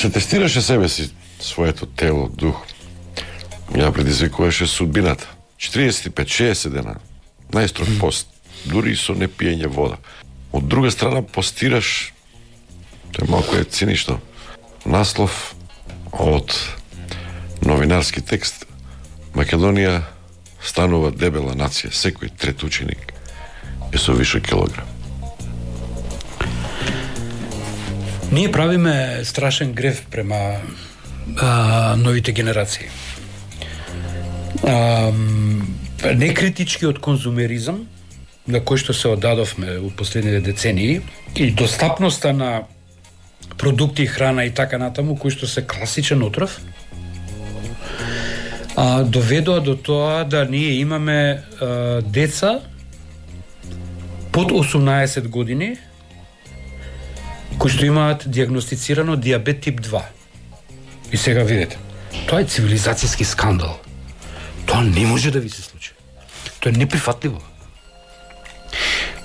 Се тестираше себе си, своето тело, дух. Ја предизвикуваше судбината. 45-60 дена. Најстрог пост. Дури и со не пиење вода. Од друга страна постираш, тоа малку е цинично, наслов од новинарски текст. Македонија станува дебела нација. Секој трет ученик е со више килограм. Ние правиме страшен грев према новите генерации. Некритички од конзумеризам, на кој што се оддадовме во последните децении, и достапноста на продукти, храна и така натаму, кои што се класичен отров, доведоа до тоа да ние имаме деца под 18 години кои што имаат диагностицирано диабет тип 2. И сега видите, тоа е цивилизацијски скандал. Тоа не може да ви се случи. Тоа е неприфатливо.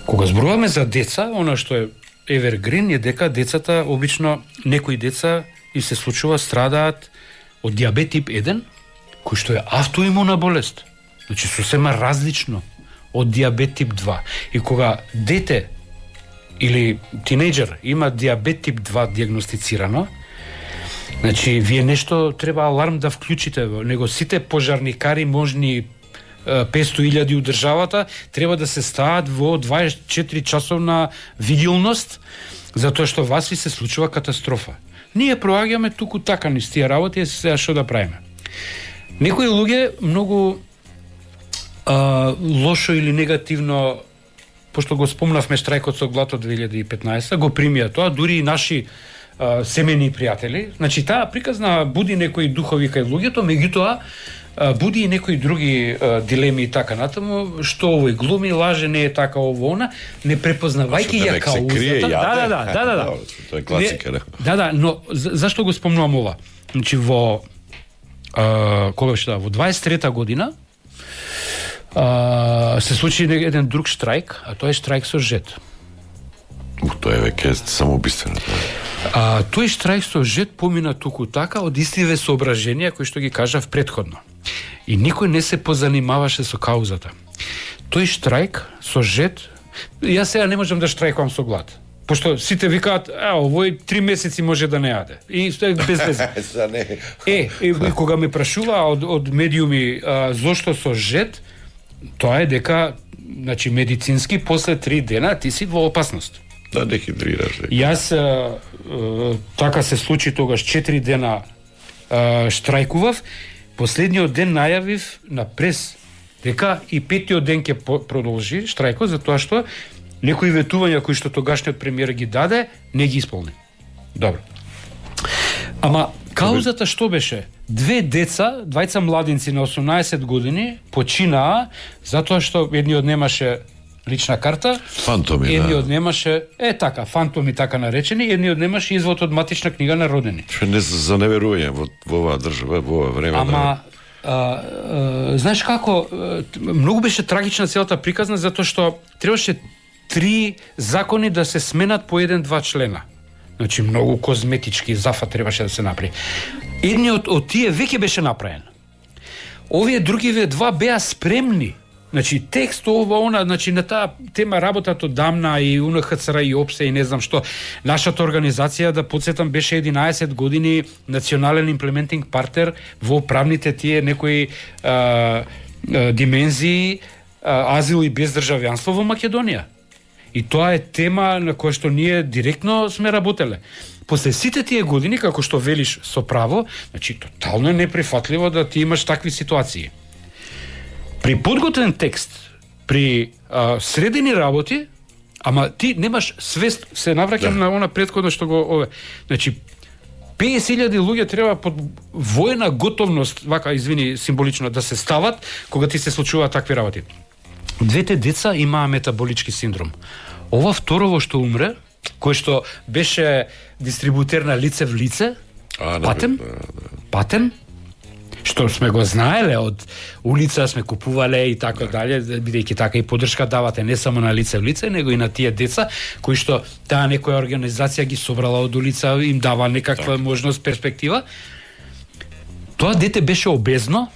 Кога зборуваме за деца, она што е evergreen е дека децата, обично некои деца и се случува страдаат од диабет тип 1, кој што е автоимуна болест. Значи сосема различно од диабет тип 2. И кога дете или тинејџер има диабет тип 2 диагностицирано, значи вие нешто треба аларм да вклучите во него. Сите пожарникари можни 500.000 у државата треба да се стават во 24 часовна виделност, затоа што вас ви се случува катастрофа. Ние проаѓаме туку така низ тие работи, и сега што да правиме. Некои луѓе многу лошо или негативно, пошто го спомнавме штрајкот со глад од 2015, го примија тоа, дури и наши семени пријатели. Значи таа приказна буди некои духови кај луѓето, меѓутоа буди и некои други дилеми и така натаму, што овој глуми, лаже, не е така ово она, не препознавајќи ја каузата. Да. Тоа е класика, Да, но зашто го спомнувам ова? Значи во кога што во 23-та година се случи еден друг штрајк, а тоа е штрајк со ЖЕТ. Тоа е веќе самоубиствено. Тој штрајк со ЖЕТ помина туку така од истиве соображенија кои што ги кажав претходно. И никој не се позанимаваше со каузата. Тој штрајк со ЖЕТ, јас сега не можам да штрајкувам со глад. Пошто сите викаат, овој 3 месеци може да не јаде. И тоа е без веза. И кога ме прашува од медиуми зошто со ЖЕТ, тоа е дека, значи медицински после 3 дена ти си во опасност. Да, дехидрираш. Јас така се случи тогаш 4 дена штрајкував. Последниот ден најавив на прес дека и 5-тиот ден ќе продолжи штрајкот, затоа што некои ветувања кои што тогашниот премиер ги даде, не ги исполни. Добро. Ама каузата што беше? 2 деца, двајца младинци на 18 години починаа затоа што едниот немаше лична карта, фантоми, едниот немаше, фантоми така наречени, едниот немаше извод од матична книга на родени. Што не за неверување во оваа држава, во ова време. Ама знаеш како, многу беше трагична целата приказна затоа што требаше 3 закони да се сменат по 1-2 члена. Значи многу козметички зафат требаше да се направи. Едниот од тие веќе беше направен. Овие другиве 2 беа спремни. Значи текст ова она, значи на таа тема работат одамна и УНХЦР и ОПСЕ и не знам што. Нашата организација, да подсетам, беше 11 години национален имплементинг партнер во правните тие некои димензии азил и бездржавјанство во Македонија. И тоа е тема на која што ние директно сме работеле. После сите тие години, како што велиш со право, значи тотално е неприфатливо да ти имаш такви ситуации. При подготвен текст, при средени работи, ама ти немаш свест, се навраќам на она претходно што го значи 50.000 луѓе треба под воена готовност, вака извини символично да се стават кога ти се случуваат такви работи. 2 деца имаа метаболички синдром. Ова второво што умре, кој што беше дистрибутер на лице в лице, Патен, што сме го знаеле од улица, сме купувале и така дале, бидејќи така и поддршка давате не само на лице в лице, него и на тие деца кои што таа некоја организација ги собрала од улица, им дава некаква можност, перспектива. Тоа дете беше обезно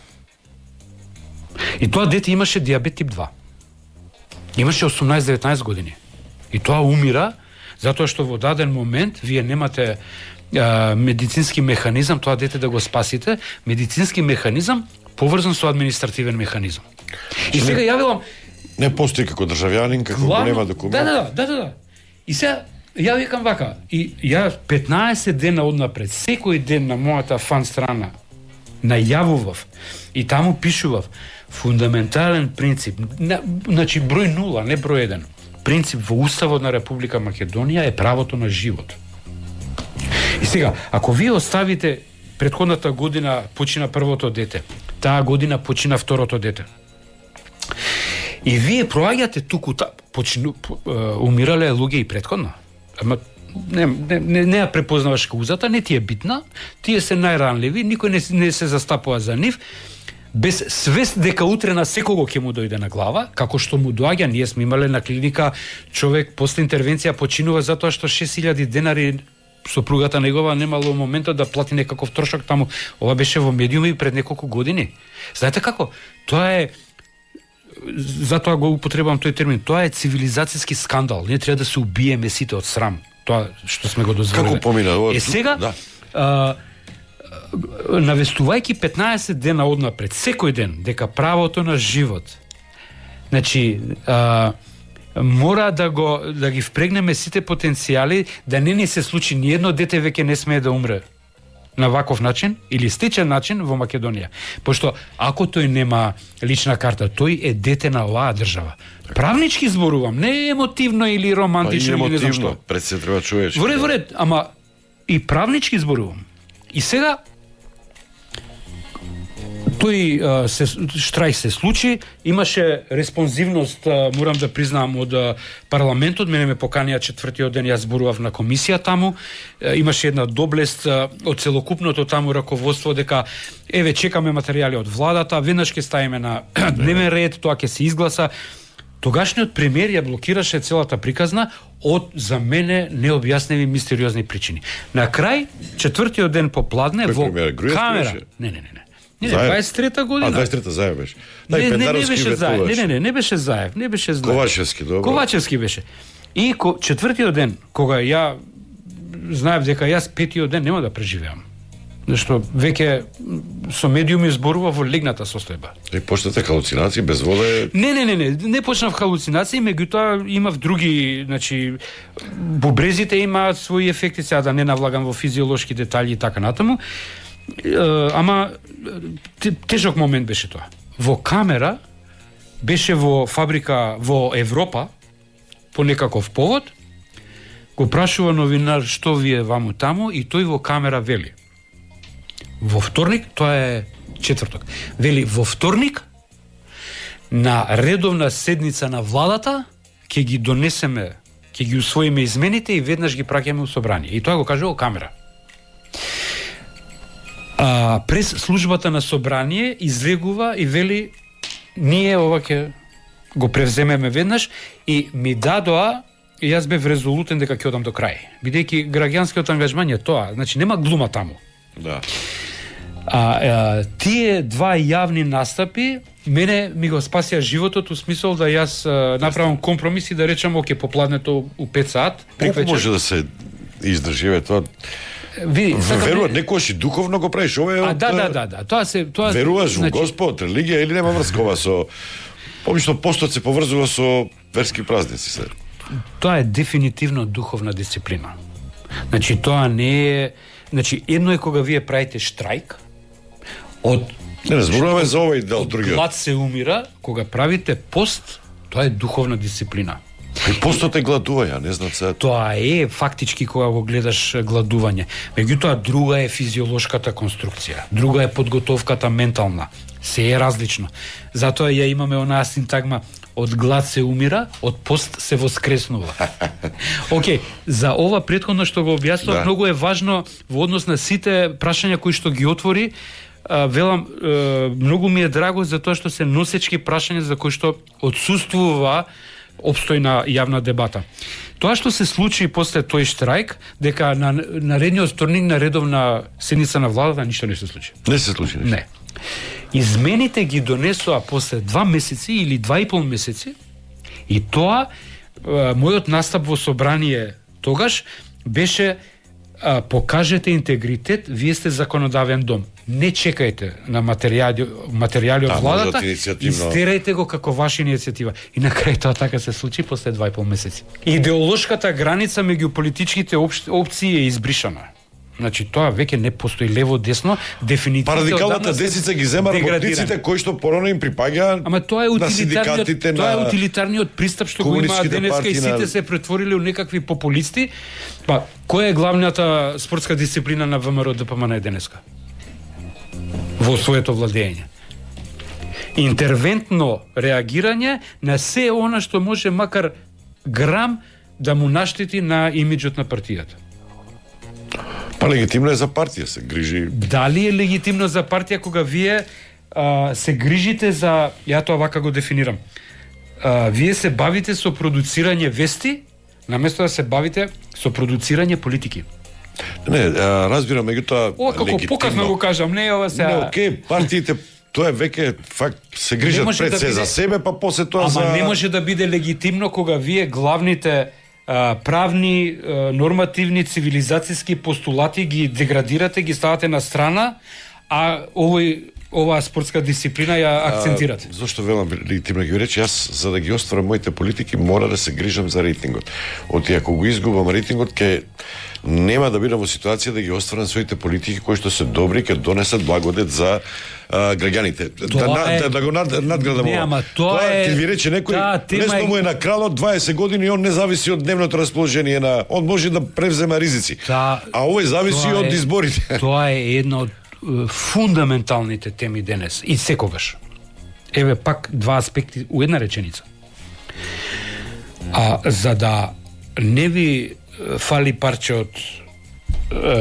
и тоа дете имаше диабет тип 2. Имаше 18-19 години. И тоа умира затоа што во даден момент вие немате медицински механизам тоа дете да го спасите, медицински механизам поврзан со административен механизам. И сега јавилам не постои како државјанин, како нема документ. Да. И сега ја викам вака, и ја 15 дена однапред, секој ден на мојата фан страна најавував и таму пишував фундаментален принцип, значи број 0, не број 1. Принцип во Уставот на Република Македонија е правото на живот. И сега, ако вие оставите претходната година почина првото дете, таа година почина второто дете, и вие проаѓате туку умирале луѓе и претходно, ама не ја препознаваш каузата, не ти е битна, тие се најранливи, никој не се застапува за нив, без свест дека утре на секого ќе му дојде на глава, како што му доаѓа. Ние сме имале на клиника човек после интервенција починува затоа што 6000 денари сопругата негова немало моментот да плати некаков трошок таму. Ова беше во медиуми пред неколку години. Знаете како? Тоа е, затоа го употребувам тој термин, тоа е цивилизацијски скандал. Ние треба да се убиеме сите од срам. Тоа што сме го дозволиле. Како помина ова? Сега, навестувајќи 15 дена однапред, секој ден, дека правото на живот, значи, мора да ги впрегнеме сите потенцијали, да не ни се случи ни едно дете веќе не смее да умре на ваков начин или стечен начин во Македонија. Пошто ако тој нема лична карта, тој е дете на оваа држава. Правнички зборувам, не емотивно или романтично или не знам што. Пред се треба човечки. Во ред, ама и правнички зборувам. И сега тој штрајк се случи, имаше респонзивност, морам да признам, од парламентот, мене ме поканија четвртиот ден, јас зборував на комисија таму, имаше една доблест од целокупното таму раководство дека еве чекаме материјали од владата, веднаш ќе ставиме на дневен ред, тоа ќе се изгласа. Тогашниот премиер ја блокираше целата приказна од, за мене, необјасневи мистериозни причини. На крај, четвртиот ден попладне, во камера... Не, 23-та година. 23-та Заев беше. Не беше Заев. Ковачевски, добро. Ковачевски беше. И четвртиот ден, кога ја знаев дека јас петиот ден нема да преживеам. Зашто веќе со медиуми зборува во легната состојба. И почнете халуцинации без вода? Не почнав халуцинации, меѓутоа имав други, значи бубрезите имаат своји ефекти, сега да не навлагам во физиолошки детали и така натаму. Ама тежок момент беше тоа. Во камера беше во фабрика во Европа по некаков повод, го прашува новинар што вие ваму таму и тој во камера вели. Во вторник, тоа е четврток, вели во вторник на редовна седница на владата ќе ги донесеме, ќе ги усвоиме измените и веднаш ги праќаме у собрание. И тоа го кажува камера. През службата на собрание излегува и вели ние ова ќе го превземеме веднаш и ми дадоа и јас бев резолутен дека ќе одам до крај. Бидејќи граѓанскиот ангажман е тоа, значи нема глума таму. Да. Тие два јавни настапи мене ми го спасија животот, у смисол да јас направам компромис и да речам оке попладнето у 5 сат. Колку може да се издрживе тоа? Веруват, некојаш и духовно го правиш, ова е од... Да, тоа веруваш во Господ, религија или нема врскова со... Обично постот се поврзува со верски празници се. Тоа е дефинитивно духовна дисциплина. Значи тоа не е, значи едно е кога вие правите штрајк од не зборуваме за овој дел другиот. Глад се умира, кога правите пост, тоа е духовна дисциплина. И постот е гладување, не знам се. Тоа е фактички кога го гледаш гладување. Меѓутоа друга е физиолошката конструкција, друга е подготовката ментална. Се е различно. Затоа ја имаме онаа синтагма од глад се умира, од пост се воскреснува. Океј, за ова претходно што го објаснав, многу е важно во однос на сите прашања кои што ги отвори, велам, многу ми е драго за тоа што се носечки прашања за кои што отсуствува опстојна јавна дебата. Тоа што се случи после тој штрајк, дека на наредниот вторник на редовна седница на владата ништо не се случи. Не се случи нешто. Не. Измените ги донесоа после 2 месеци или 2,5 месеци и тоа мојот настап во собрание тогаш беше покажете интегритет, вие сте законодавен дом. Не чекајте на материјали од владата, истерајте го како ваша иницијатива. И на крај тоа така се случи после 2,5 месеци. Идеолошката граница меѓу политичките опции е избришана. Значи тоа веќе не постои лево десно, дефиницијата. Радикалната десница ги зема работниците кои што порано им припаѓаат. Ама тоа е утилитарниот пристап што го имаат денеска и сите се претвориле во некакви популисти. Па која е главната спортска дисциплина на ВМРО ДПМН денеска? Во своето владење. Интервентно реагирање на се она што може макар грам да му наштети на имиджот на партијата. Па легитимно е за партија, се грижи. Дали е легитимно за партија кога вие се грижите за, ја тоа вака го дефинирам, вие се бавите со продуцирање вести, наместо да се бавите со продуцирање политики. Не, разбирам, меѓутоа ова како покасно го кажам, не ова се. Не, окей, партиите тоа е веќе факт се грижат пред се за себе, па после тоа за. Ама не може да биде легитимно кога вие главните правни, нормативни, цивилизацијски постулати ги деградирате, ги ставате на страна, а оваа спортска дисциплина ја акцентирате. Зошто велам легитимно ги рече, јас за да ги остварам моите политики мора да се грижам за рейтингот. Оти ако го изгубам рейтингот, ќе нема да бидам во ситуација да ги остварам своите политики кои што се добри, ќе донесат благодет за граѓаните. Да го надградам ова. Не, ама тоа е. Ќе ви рече некој, лесно му е на кралот 20 години и он не зависи од дневното расположение на, он може да превзема ризици. А овој зависи од изборите. Тоа е една од фундаменталните теми денес и секогаш. Еве пак два аспекти у една реченица. За да не ви фали парче од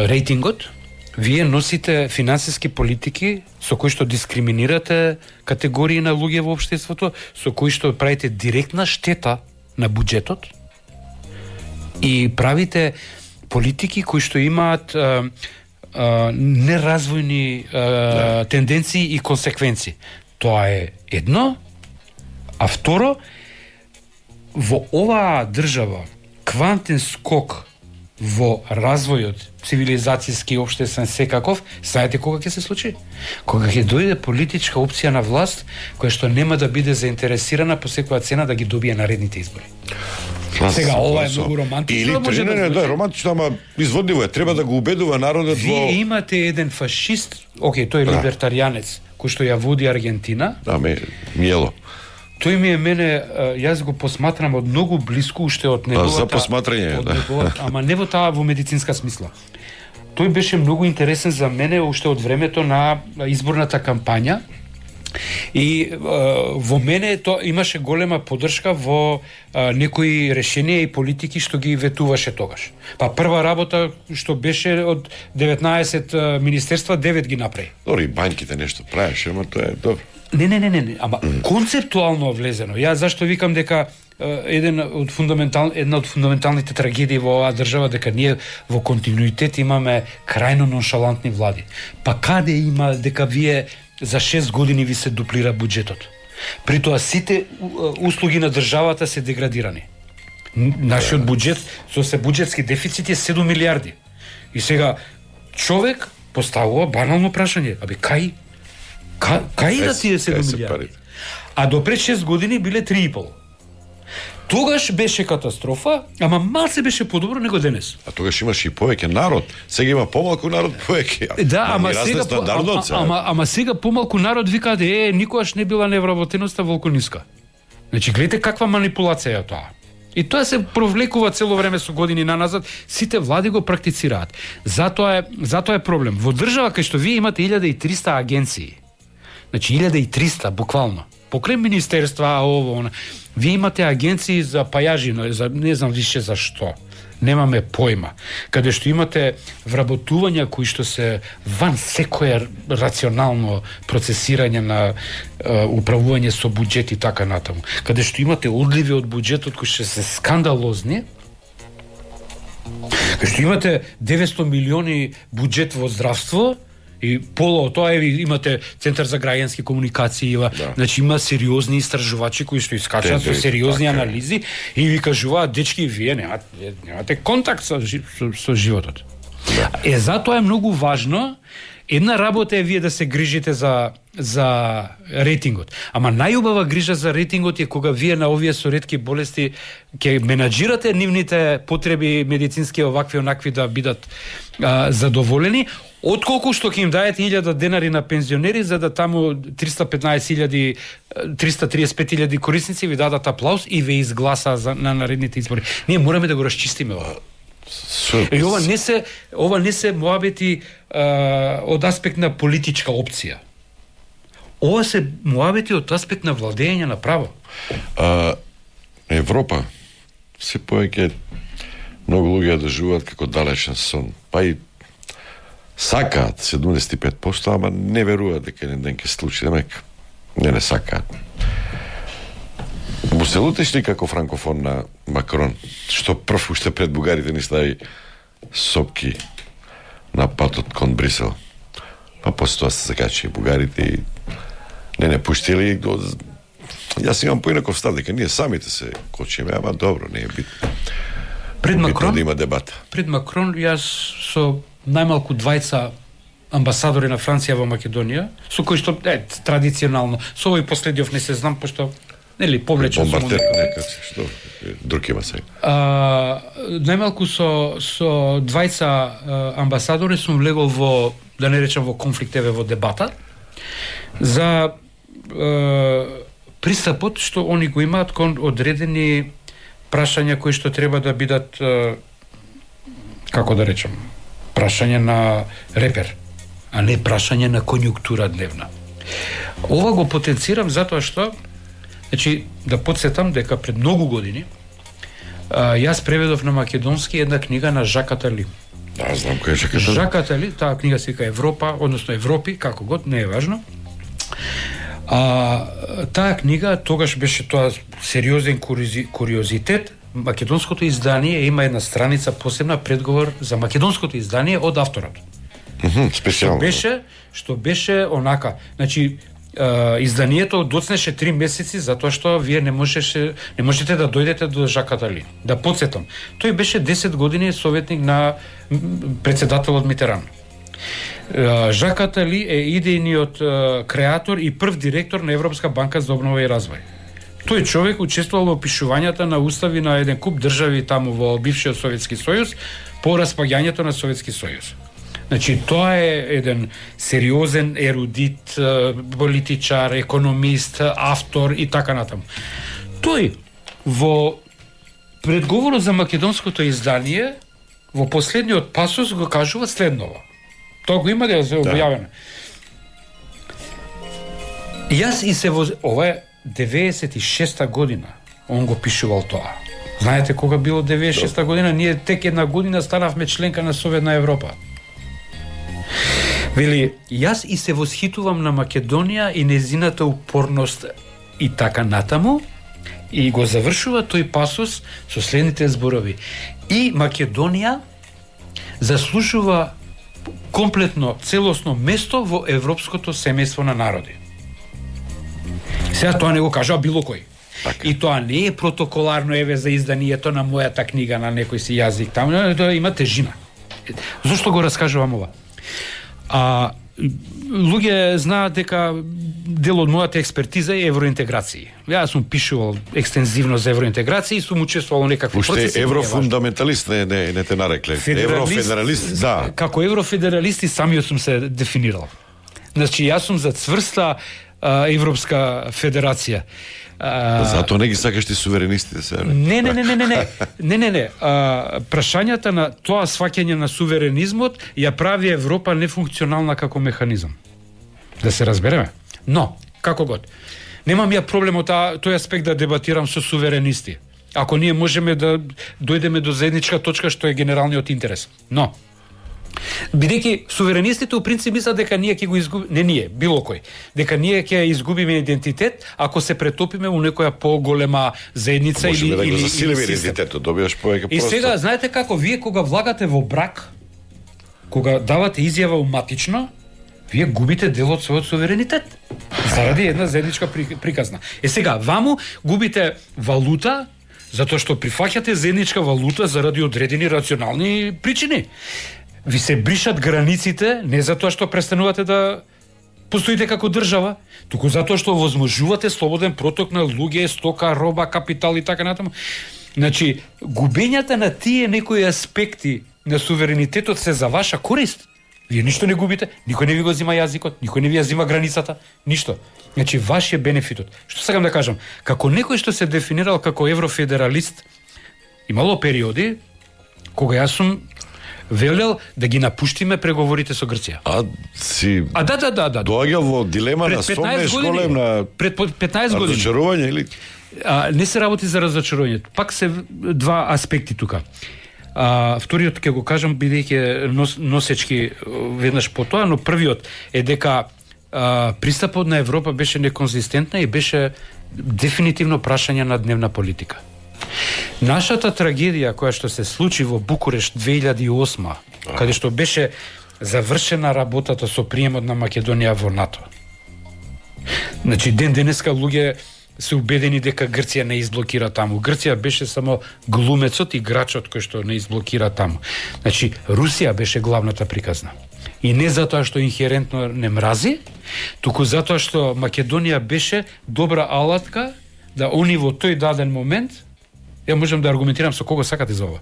рейтингот, вие носите финансиски политики со кои што дискриминирате категории на луѓе во општеството, со кои што правите директна штета на буџетот и правите политики кои што имаат неразвојни тенденции и консеквенции. Тоа е едно, а второ, во оваа држава квантен скок во развојот цивилизацијски и општествен секаков, знаете кога ќе се случи? Кога ќе дојде политичка опција на власт која што нема да биде заинтересирана по секоја цена да ги добие наредните избори. Сега ова е многу романтично. Или да, романтично, ама изводливо е. Треба да го убедува народот во. Вие имате еден фашист, тој е либертаријанец, кој што ја води Аргентина. Да, Миело. Тој ми е мене, јас го посматрам од многу блиску уште од неговата. За посматрање, да. Ама не во таа во медицинска смисла. Тој беше многу интересен за мене уште од времето на изборната кампања. И во мене тоа имаше голема поддршка во некои решенија и политики што ги ветуваше тогаш. Па прва работа што беше од 19 министерства 9 ги направи. Дори банките нешто правеше, ама тоа е добро. Не, ама концептуално влезено. Јас зашто викам дека една од фундаменталните трагедии во оваа држава дека ние во континуитет имаме крајно ноншалантни влади. Па каде има дека вие за 6 години ви се дуплира буџетот? При тоа сите услуги на државата се деградирани. Нашиот буџет со се буџетски дефицит е 7 милиарди. И сега човек поставува банално прашање, кај да тие 7 милиарди? А до пред 6 години биле 3,5. Тогаш беше катастрофа, ама малце беше подобро него денес. А тогаш имаше и повеќе народ. Сега има помалку народ повеќе. Да, ама сега помалку народ викаат никогаш не била невработеноста волку ниска. Значи гледате каква манипулација е тоа. И тоа се провлекува цело време со години наназад, сите влади го практицираат. Затоа е проблем. Во држава кај што вие имате 1300 агенции. Значи 1300 буквално. Покрај министерства, вие имате агенции за пајажи, за не знам више за што. немаме појма, каде што имате вработувања кои што се ван секое рационално процесирање на управување со буџет и така натаму, каде што имате одливи од буџетот кои што се скандалозни, каде што имате 900 милиони буџет во здравство, и пола од тоа имате Центар за граѓански комуникации, значи има сериозни истражувачи кои што искачат со сериозни анализи и ви кажуваат, дечки, вие немате контакт со животот. Затоа е многу важно. Една работа е вие да се грижите за рейтингот. Ама најубава грижа за рейтингот е кога вие на овие со ретки болести ќе менаџирате нивните потреби медицински овакви онакви да бидат задоволени, отколку што ќе им даете 1000 денари на пензионери за да таму 335.000 корисници ви дадат аплауз и ве изгласа на наредните избори. Ние мораме да го расчистиме ова. И ова не се муабети од аспект на политичка опција. Ова се муабети од аспект на владење на право. Европа се повеќе многу луѓе ја доживуваат како далечен сон, па и сакаат 75%, ама не веруваат дека еден ден ќе случи, демек не сакаат. Му се лутиш ли како франкофон на Макрон, што прв уште пред бугарите ни стави сопки на патот кон Брисел? Па после тоа се закачи бугарите и не пуштили. Јас имам поинаков став, дека ние самите се кочиме, ама добро, не е битно. Пред Макрон да има дебата. Пред Макрон јас со најмалку двајца амбасадори на Франција во Македонија, со кои што традиционално, со овој последиов не се знам, пошто нели повлечен сум нека што друг има сега. Најмалку со двајца амбасадори сум влегол во, да не речам во конфликт, во дебата за пристапот што они го имаат кон одредени прашања кои што треба да бидат, како да речам, прашање на репер, а не прашање на конјунктура дневна. Ова го потенцирам затоа што, значи, да подсетам дека пред многу години јас преведов на македонски една книга на Жак Атали. Да, знам кој е Жак Атали. Жак Атали, таа книга се вика Европа, односно Европи, како год, не е важно. Таа книга, тогаш беше тоа сериозен куриозитет. Македонското издание има една страница посебна предговор за македонското издание од авторот. Специјално. Што беше онака, значи изданието доцнеше 3 месеци затоа што вие не можете да дојдете до Жак Атали. Да подсетам, тој беше 10 години советник на председателот Митеран. Жак Атали е идејниот креатор и прв директор на Европска банка за обнова и развој. Тој човек учествувал во опишувањата на устави на еден куп држави таму во бившиот Советски сојуз по распаѓањето на Советски сојуз. Значи, тоа е еден сериозен ерудит, политичар, економист, автор и така натаму. Тој во предговорот за македонското издание во последниот пасус го кажува следново. Тоа го има да се објавено. Јас и се ова е 96-та година. Он го пишувал тоа. Знаете кога било 96-та година? Ние тек една година станавме членка на Советна Европа. Вели, јас и се восхитувам на Македонија и незината упорност и така натаму, и го завршува тој пасус со следните зборови. И Македонија заслужува комплетно, целосно место во европското семејство на народи. Сега тоа не го кажа било кој. И тоа не е протоколарно за изданието на мојата книга на некој си јазик таму, тоа има тежина. Зошто го раскажувам ова? Луѓе знаат дека дел од мојата експертиза е евроинтеграција. Јас сум пишувал екстензивно за евроинтеграција и сум учествувал во некакви процеси. Уште еврофундаменталист не те нарекле. Еврофедералист, да. Како еврофедералист и самиот сум се дефинирал. Значи, јас сум за цврста Европска федерација. Затоа не ги сакаш ти суверенистите се. Не. Прашањата на тоа сваќање на суверенизмот ја прави Европа нефункционална како механизам. Да се разбереме. Но, како год, немам ја проблем од тој аспект да дебатирам со суверенисти. Ако ние можеме да дојдеме до заедничка точка што е генералниот интерес. Но бидејќи суверенистите у принцип мислат дека ние ќе го изгубиме, не ние, било кој, дека ние ќе изгубиме идентитет ако се претопиме у некоја поголема заедница Можеме или да го засилиме систем. идентитетот, добиваш повеќе И простор. сега знаете како вие кога влагате во брак, кога давате изјава уматично, вие губите дел од својот суверенитет заради една заедничка приказна. Сега ваму губите валута затоа што прифаќате заедничка валута заради одредени рационални причини. Ви се бришат границите не затоа што престанувате да постоите како држава, туку затоа што возможувате слободен проток на луѓе, стока, роба, капитал и така натаму. Значи, губењата на тие некои аспекти на суверенитетот се за ваша корист. Вие ништо не губите, никој не ви го зима јазикот, никој не ви ја зима границата, ништо. Значи, ваш е бенефитот. Што сакам да кажам? Како некој што се дефинирал како еврофедералист, имало периоди кога јас сум велел да ги напуштиме преговорите со Грција. Да. Да. Доаѓал во дилема на сомнеш голем на пред 15 години. Разочарување или не се работи за разочарување. Пак се два аспекти тука. Вториот ќе го кажам бидејќи носечки веднаш по тоа, но првиот е дека пристапот на Европа беше неконзистентна и беше дефинитивно прашање на дневна политика. Нашата трагедија која што се случи во Букурешт 2008, каде што беше завршена работата со приемот на Македонија во НАТО. Значи ден денеска луѓе се убедени дека Грција не изблокира таму. Грција беше само глумецот, играчот кој што не изблокира таму. Значи Русија беше главната приказна. И не затоа што инхерентно не мрази, туку затоа што Македонија беше добра алатка да они во тој даден момент, ја можам да аргументирам со кого сакате за ова,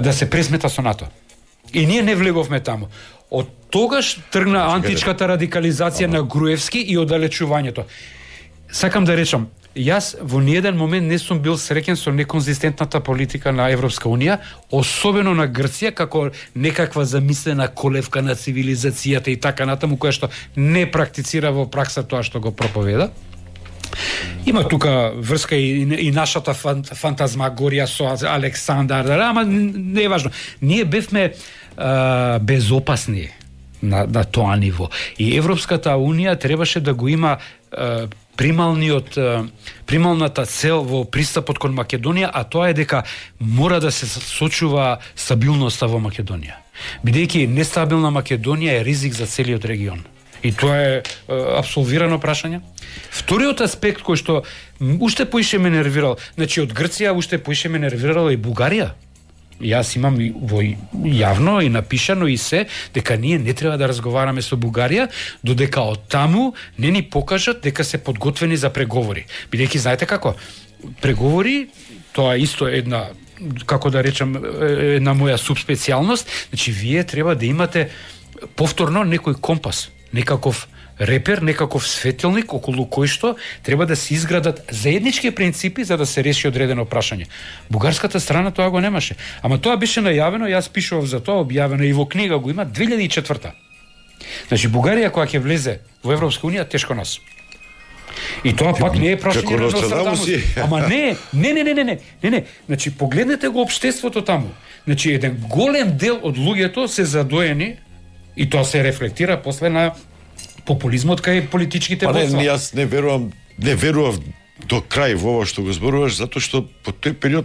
да се пресмета со НАТО. И ние не влеговме таму. Од тогаш тргна античката радикализација на Груевски и оддалечувањето. Сакам да речам, јас во ниеден момент не сум бил среќен со неконзистентната политика на Европска Унија, особено на Грција, како некаква замислена колевка на цивилизацијата и така натаму, која што не практицира во пракса тоа што го проповеда. Има тука врска и нашата фантазмагорија со Александар, ама не е важно. Ние бевме безопасни на тоа ниво. И Европската Унија требаше да го има прималната цел во пристапот кон Македонија, а тоа е дека мора да се сочува стабилноста во Македонија. Бидејќи нестабилна Македонија е ризик за целиот регион. И тоа е апсолвирано прашање. Вториот аспект кој што уште поише ме нервирал, значи од Грција уште поише ме нервирала и Бугарија. Јас имам во јавно и напишано и се дека ние не треба да разговараме со Бугарија додека од таму не ни покажат дека се подготвени за преговори. Бидејќи знаете како, преговори тоа исто една, како да речам, една моја субспецијалност, значи вие треба да имате повторно некој компас, некаков репер, некаков светилник околу кој што треба да се изградат заеднички принципи за да се реши одредено прашање. Бугарската страна тоа го немаше. Ама тоа беше најавено, јас пишував за тоа, објавено и во книга го има 2004. Значи Бугарија кога ќе влезе во Европска Унија, тешко нас. И тоа пак не е прашање на Нострадамус. Ама не. Значи погледнете го општеството таму. Значи еден голем дел од луѓето се задоени и тоа се рефлектира после на популизмот кај политичките војства. Јас не верував до крај во ова што го зборуваш, затоа што по тој период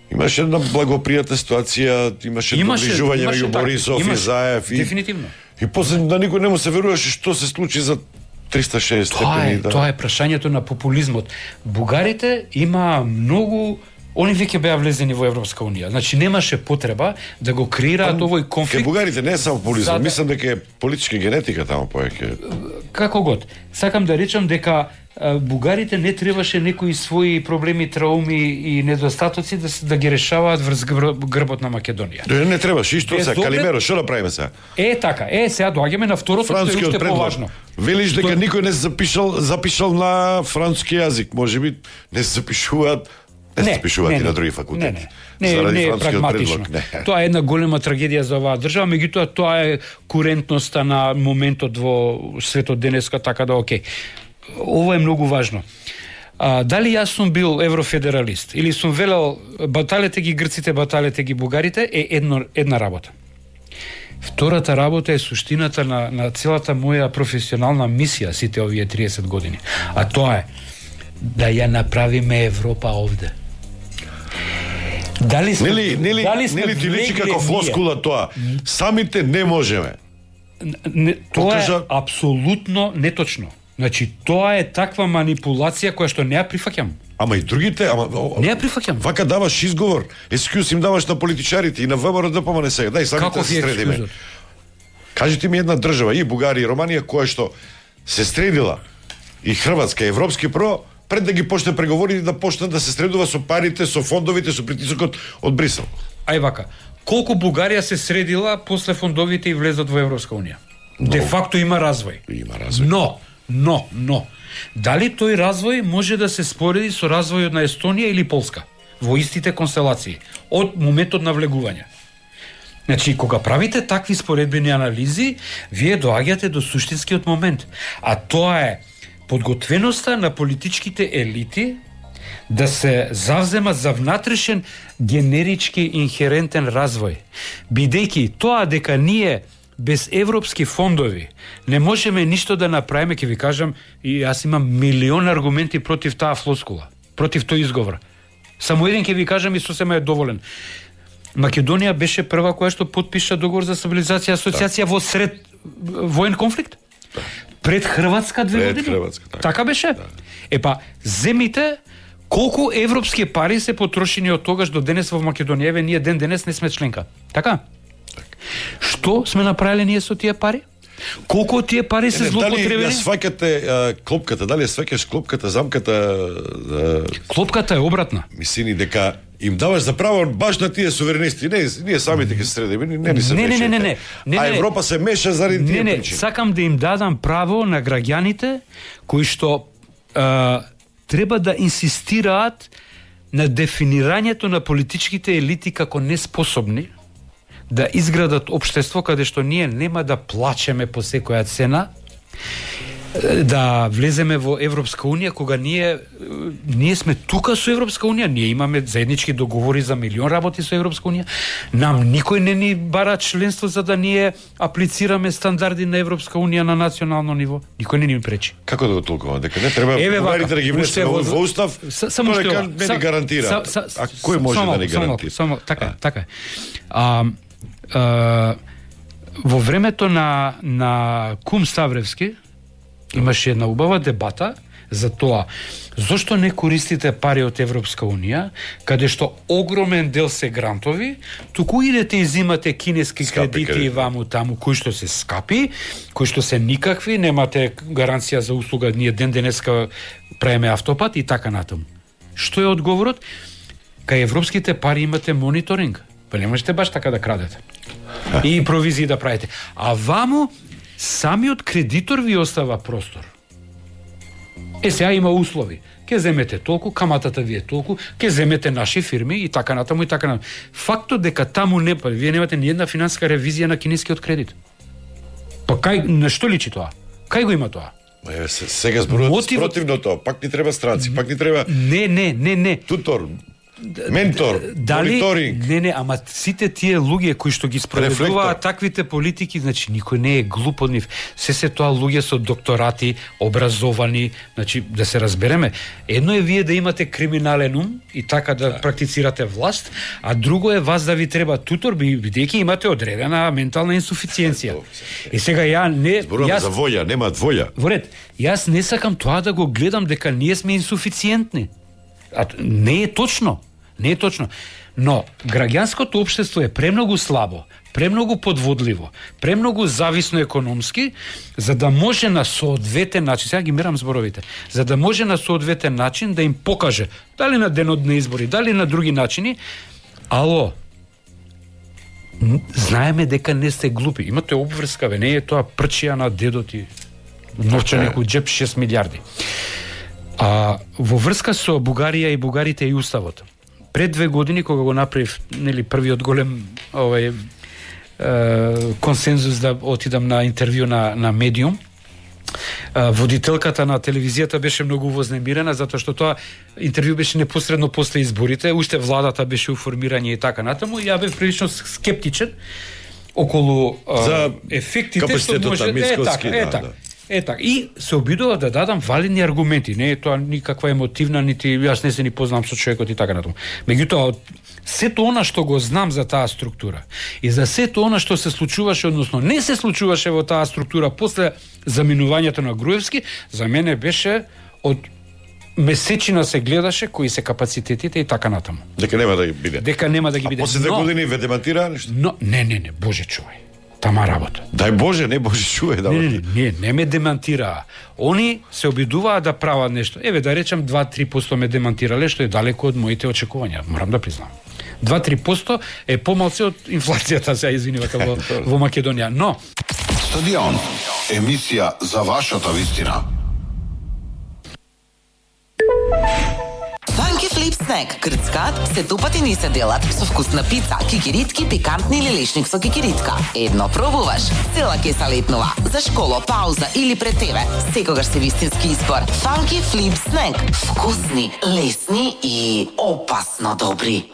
имаше една благопријатна ситуација, имаше доближување меѓу Борисов и Заев. Дефинитивно. И после на никој не му се веруваше што се случи за 360 степени. Тоа е прашањето на популизмот. Бугарите има многу. Они веќе беа влезени во Европска Унија. Значи немаше потреба да го креираат овој конфликт. Ке бугарите не е само популизам, мислам дека е политичка генетика таму повеќе. Како год. Сакам да речам дека бугарите не требаше некои своји проблеми, трауми и недостатоци да ги решаваат врз грбот на Македонија. Не требаше, и што се Калимеро, што да правиме сега? Така, сега доаѓаме на второто, што е уште поважно. Велиш дека никој не се запишал на француски јазик, можеби не се запишуваат. Не се пишуваат и на други факултети. Не е прагматично. Тоа е една голема трагедија за оваа држава, меѓутоа тоа е курентноста на моментот во светот денеска, така да окей. Ова е многу важно. дали јас сум бил еврофедералист или сум велел баталете ги грците, баталете ги бугарите е една работа. Втората работа е суштината на целата моја професионална мисија сите овие 30 години. А тоа е да ја направиме Европа овде. Дали сме нели ти личи како флоскула тоа? Самите не можеме. Тоа е апсолутно неточно. Значи, тоа е таква манипулација која што не ја прифаќам. Ама и другите, не ја прифаќам. Вака даваш изговор, ескюз им даваш на политичарите и на ВМРО да помане сега. Дај самите да се средиме. Кажете ми една држава, и Бугарија и Романија, која што се средила, и Хрватска, европски прво, пред да ги почне преговори да почне да се средува со парите, со фондовите, со притисокот од Брисел. Ај вака, колку Бугарија се средила после фондовите и влезот во Европска унија? Де факто има развој. Има развој. Но, дали тој развој може да се спореди со развојот на Естонија или Полска во истите констелации од моментот на влегување? Значи, кога правите такви споредбени анализи, вие доаѓате до суштинскиот момент, а тоа е подготвеноста на политичките елити да се завземат за внатрешен генерички инхерентен развој, бидејќи тоа дека ние без европски фондови не можеме ништо да направиме, ќе ви кажам, и јас имам милион аргументи против таа флоскула, против тој изговор. Само еден ќе ви кажам и сосема е доволен. Македонија беше прва која што потпиша договор за стабилизација и асоциација во сред воен конфликт. Пред Хрватска 2 години. Така беше? Епа, земите колку европски пари се потрошени од тогаш до денес во Македонија. Еве, ние ден денес не сме членка. Така? Што сме направиле ние со тие пари? Колку од тие пари се злоупотребени? Дали ја сваќате клопката, дали ја сваќаш клопката, замката? Клопката е обратна. Мислини дека им даваш за право баш на тие суверенисти. Ние самите ќе се средиме, не се мешате. А Европа се меша заради тие причини. Сакам да им дадам право на граѓаните кои што треба да инсистираат на дефинирањето на политичките елити како неспособни да изградат општество каде што ние нема да плачеме по секоја цена, да влеземе во Европска унија, кога ние сме тука со Европска унија, ние имаме заеднички договори за милион работи со Европска унија, нам никој не ни бара членство за да ние аплицираме стандарди на Европска унија на национално ниво, никој не ни пречи. Како да го толкуваме? Дека не треба бугарите да ги внесеме во устав, само што не ни гарантира. А кој може да ни гарантира? Само така е. Во времето на Кум Ставревски имаше една убава дебата за тоа зошто не користите пари од Европска унија, каде што огромен дел се грантови, туку идете и зимате кинески кредити и ваму таму, кои што се скапи, кои што се никакви, немате гаранција за услуга, ние ден денеска правиме автопат и така натаму. Што е одговорот? Кај европските пари имате мониторинг, па не можете баш така да крадете. И провизии да правите. А ваму самиот кредитор ви остава простор. Сега има услови. Ке земете толку, каматата ви е толку, ке земете наши фирми и така натаму и така натаму. Фактот дека таму вие немате ни една финансиска ревизија на кинескиот кредит. Па на што личи тоа? Кај го има тоа? Сега зборувате спротивно тоа. Пак ни треба странци, пак ни треба... Не. Тутор, ментор, мониторинг. Не, ама сите тие луѓе кои што ги спроведуваат таквите политики, значи никој не е глуп од нив. Се тоа луѓе со докторати, образовани, значи да се разбереме. Едно е вие да имате криминален ум и така да практицирате власт, а друго е вас да ви треба тутор, бидејќи имате одредена ментална инсуфициенција. И сега зборуваме за воја, нема воја. Во ред, јас не сакам тоа да го гледам дека ние сме инсуфициентни. Не е точно. Но граѓанското општество е премногу слабо, премногу подводливо, премногу зависно економски, за да може на соодветен начин, сега ги мерам зборовите, за да може на соодветен начин да им покаже, дали на денот на избори, дали на други начини, ало, знаеме дека не сте глупи, имате обврска, не е тоа прчија на дедот и новчаник у джеп 6 милиарди. Во врска со Бугарија и бугарите и уставот, пред 2 години кога го направив првиот голем консензус да отидам на интервју на Медиум, водителката на телевизијата беше многу вознемирена затоа што тоа интервју беше непосредно после изборите, уште владата беше у формирање и така натаму, и ја бев прилично скептичен околу за ефектите што може така. И се обидува да дадам валидни аргументи. Не е тоа никаква емотивна, нити јас не се ни познам со човекот и така натаму. Меѓутоа, сето она што го знам за таа структура и за сето она што се случуваше, односно не се случуваше во таа структура после заминувањето на Груевски, за мене беше од месечина се гледаше кои се капацитетите и така натаму. Дека нема да ги биде. Дека нема да ги биде. А после 2 години ве демантираа нешто? Но не, Боже чувај. Тама работа. Дај Боже, не Боже чуе да. Не ме демантираа. Они се обидуваа да прават нешто. Еве да речам 2-3% ме демантирале, што е далеко од моите очекувања, морам да признам. 2-3% е помалку од инфлацијата, се извинувате во Македонија, но Стадион, емисија за вашата вистина. Funky Flip Snack, крцкат, сетупати ни се делат со вкусна пица, кикиритки, пикантни или лешник со кикиритка. Едно пробуваш, цела ќе се летнува. За школа, пауза или пред тебе, секогаш се вистински избор. Funky Flip Snack, вкусни, лесни и опасно добри.